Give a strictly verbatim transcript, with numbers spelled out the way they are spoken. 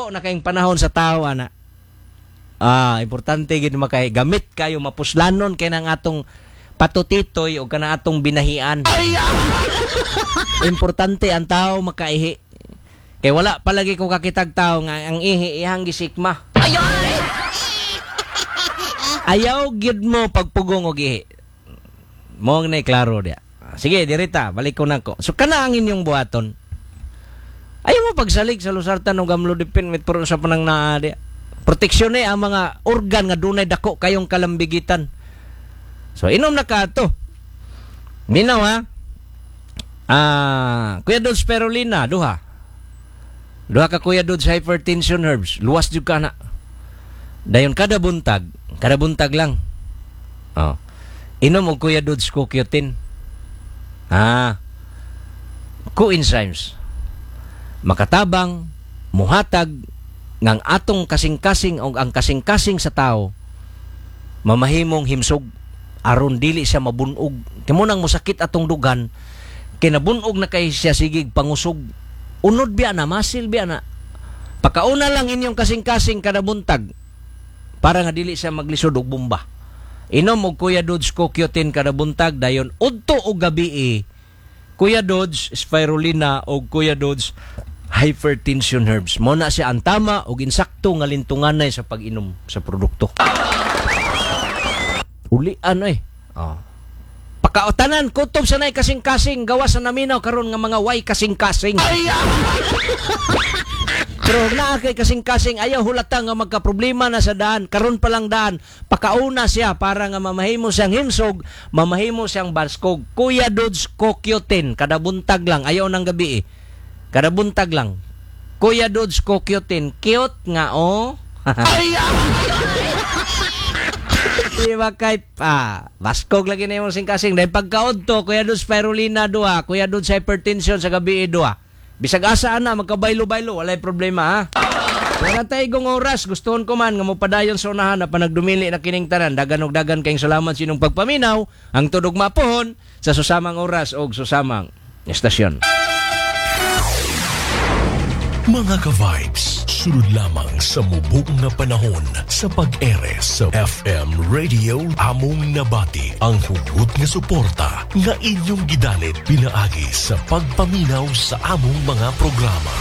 Dako na kayong panahon sa tao ana. Ah, importante gid makay gamit kayo, mapuslanon kay nang atong patutitoy o kana atong binahian. Importante ang tao makaihi. Kay wala palagi ko kakitag tao nga ang ihi ihang gisikma. Ayaw gyud mo pagpugong og ihi. Mo na klaro dia. Sige, dirita, balik ko nako. So kana ang inyong buhaton. Ayaw mo pagsalig sa losartan og amlodipine, metformin sa panang naa dia. Proteksyon ni ang mga organ nga dunay dako kayong kalambigitan. So inom na ka ato. Minaw ha. Ah, Kuya Dodge Spirulina, duha. Duha ka Kuya Dodge Hypertension Herbs. Luwas jud ka na. Dayon kada buntag, kada buntag lang. Oh. Inom og Kuya Dodge C O Q ten. Ah. Coenzymes. Makatabang, muhatag ngang atong kasing-kasing o ang kasing-kasing sa tao mamahimong himsog aron dili siya mabunog. Kay mo nang mosakit atong dugan kay nabunog na kay siya, sigig pangusog. Unod biya na, masil biya na. Pakauna lang inyong kasing-kasing kada buntag para nga dili siya maglisod og bomba. Inom og Kuya Dodge C O Q ten kada buntag, dayon udto og gabi Kuya Dodge Spirulina o Kuya Dodge Hypertension Herbs. Mo na siya ang tama og insakto nga lintunganay sa pag-inom sa produkto. Ulian eh. Oh. Pakautanan, kutob sa nay kasing-kasing, gawa sa naminaw karon nga mga way kasing-kasing. Pero naa kay kasing-kasing, ayaw hulata nga magka-problema na sa daan. Karon pa lang daan, pakauna siya para nga mamahimo siyang himsog, mamahimo siyang baskog. Kuya Dodge C O Q ten, kada buntag lang, ayaw ng gabi eh. Kada buntag lang. Kuya Dodge C O Q ten, cute nga oh. Di ba kay ah, baskog lagi na yung kasing-kasing. Dahil pagkaudto, Kuya Dodge Spirulina duha, Kuya Dodge Hypertension sa gabi duha. Bisag asa ana magkabaylo-baylo, walay problema ha. Wala tayo gong oras, gustuhon ko man nga mopadayon sa unahan na panagdumili na kining tanan. Dagan og dagan kayong salamat sa inyong pagpaminaw. Ang tudog mapohon sa susamang oras og susamang estasyon. Mga ka-vibes, sulod lamang sa mubo nga panahon sa pag-ere sa F M Radio, among nabati ang hugot nga suporta nga inyong gidalit pinaagi sa pagpaminaw sa among mga programa.